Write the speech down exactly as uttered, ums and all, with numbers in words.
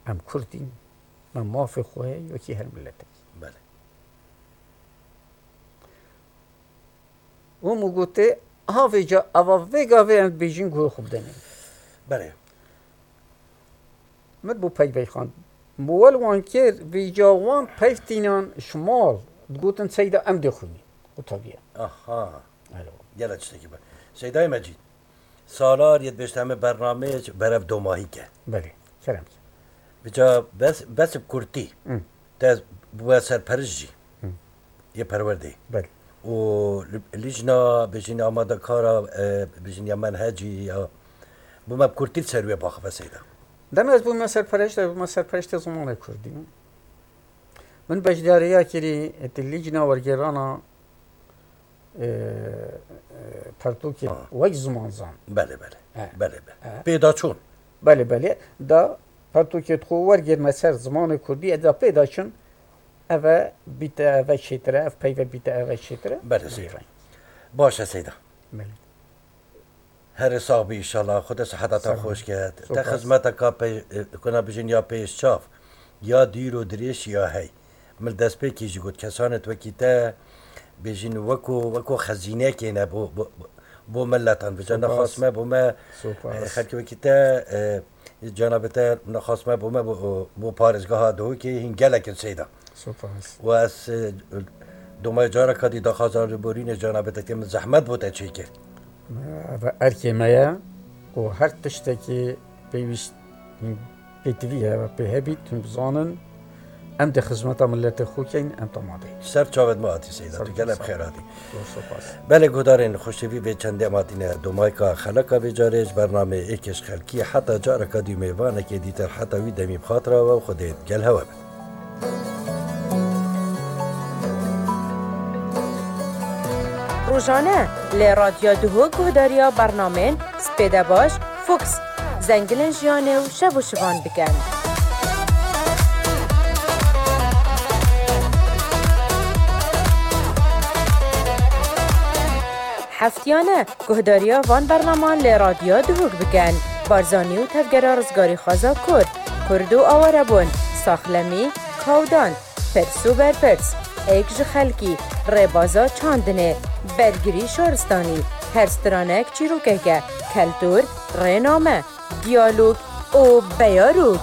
Em Kurd in, me mafê xwe heye wekî her miletekî. Belê. Û min gotê, ha vêca, eva vê gavê em dibêjin guhê xwe bidenê. Belê. Min bû peyvey xwend. Min wel wan kir, vêca wan peyv tînan ji mal, digotin Seyda em dê xwînî. Qutabiye. Aha. Alo. Gele tiştekî be. Seydayê Mecîd, salar yê dibêjte em ê bernameyê berev domahî ke. Belê, kerem ke. Bica bes, bes bi kurtî. Hı. Te bûye serperişt jî. Hı. Yê perwerdê. Belê. Û li-, lijna, bêjin amadekara, e, bêjin ya menhecî ya. Bûme bi kurtî li ser wê baxive Seyda. Demê ez bûme serperişt, ez bûme serperiştê zimanê kurdî. Min beşdariya kirî, êtî lijna wergêrana, e, e, pertûkê Ha. wek zimanzan. Belê, belê. He. Belê, belê. He. Pêdaçûn. Belê, belê. Da pertûkê xwe wergêrme ser zimanê kurdî, eda pêdaçûn, eve bîte eve çêtire, ev peyve bîte eve çêtire. Belê, Seyda. Baş e, Seyda. Belê. Herê sax bî, înşallah. Xwedê siheta te Sağ ol. Xweş ke. Te Spas. Xizmeteka pê-, kuna bijin ya pêşçav, ya dûr û dirêj ya hey. Min destpêkî jî got, kesanê wekî te, bêjin weko, weko xezînekê ne bo, bo, bo miletan. Vêca Spas. Nexas me bo me, Spas. e, xelkê wekî te, e, cenabê te nexas me bo me bo, bo parêzgeha Duhokê hîn gelek in Seyda. Spas. Û ez, e, domaya careka dî daxwazan li borînê canabê te, min zehmet bo te çêkir. Ev erkê me ye û her tiştekî pêwîst pêtivî hebe, pê hebît, hûn bizanin, em dê xizmeta miletê xwe keyn, em tamade. Ser çavêt me hatî Seyda, Ser tu gelek çavêt. Xêr hatî. Zor spas. Belê guhdarên xweşevî, vê çendê em hatine domayka xeleka vê carê ji bernameyê Êkê ji Xelkî. Heta careka dî mêvanekê dîtir, heta wî demî bi xatira we û Xwedê gel hewe be. Rojane li Radyo Duhok guhdariya bernamên Spêdebaş, Fuks, Zengilên Jiyanê û Şev û Şivan bikin. Heftiyane guhdariya van bernaman li Radyo Duhok bikin. Barzanî û tevgera rizgarîxwaza Kurd, Kurd û awarebûn, saxlemî, kawdan, pirs û berpirs, êk ji xelkî, rêbaza çandinê, bergirî şaristanî, her stranek çîrokeke, keltûr, rêname, diyalog û beyarok.